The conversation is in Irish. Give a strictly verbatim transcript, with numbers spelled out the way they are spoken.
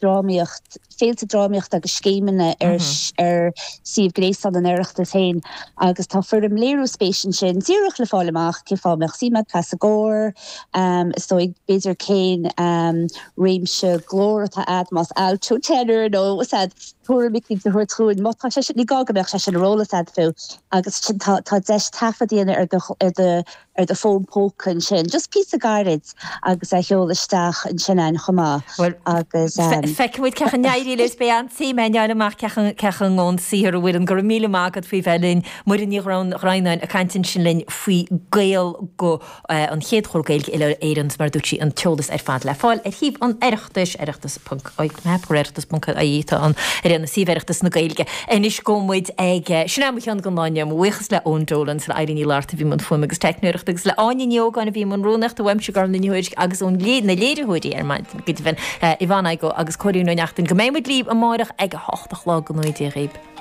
drámaíocht féilte drámaíochta agus scéimeanna ar mm -hmm. ar suíomh gréasáin an Oireachtais féin agus tá foirm léiriú spéise ansin díreach le fáil amach cé fáth mbeadh suim agat sa gcór um, is dóigh b'fhéidir cén um, réimse glór atá agat más alto tenor nó sad tuairim a thabhairt chugainn má tá sé ní gá go mbeadh sé sin ar eolas agat fiú agus sin tá tá deis taifead a dhéanamh ar do ar do ar do fón póca ansin just píosa gairid agus a sheoladh isteach ansin an chomh maith agus um, Feicfimid cén chaoi a n-éireoidh leis beidh an-suim againn fháil amach cén ón saothar a bhfuil an gur míle maith agat faoi bheith linn Muireann Ní Dhroighneáin ag caint ansin linn faoi Gaelguth an chéad chór Gaeilge uile-Éireann mar dúirt sí an t-eolas ar fad le fáil ar shuíomh an Oireachtais oireachtas oireachtas ponc ie tá an ar an suíomh Oireachtas na Gaeilge. Anois gabhfaidh muid ag sin am cheann go láine buíochas le Eoin Dolan le Eileen Ní Fhlatharta a bhí i mbun fuaime agus teicneoireachta agus le Áine Ní Ógáin a bhí i mbun rúnaíochta uaimse gar na nuair agus ón lé na léiritheoirí ar maidin go deimhin Yvonne Igoe agus Cóilín Ó Neachtain go mbeidh muid libh amárach ag a hocht a chlog go ngnóthaí Dia dhaoibh.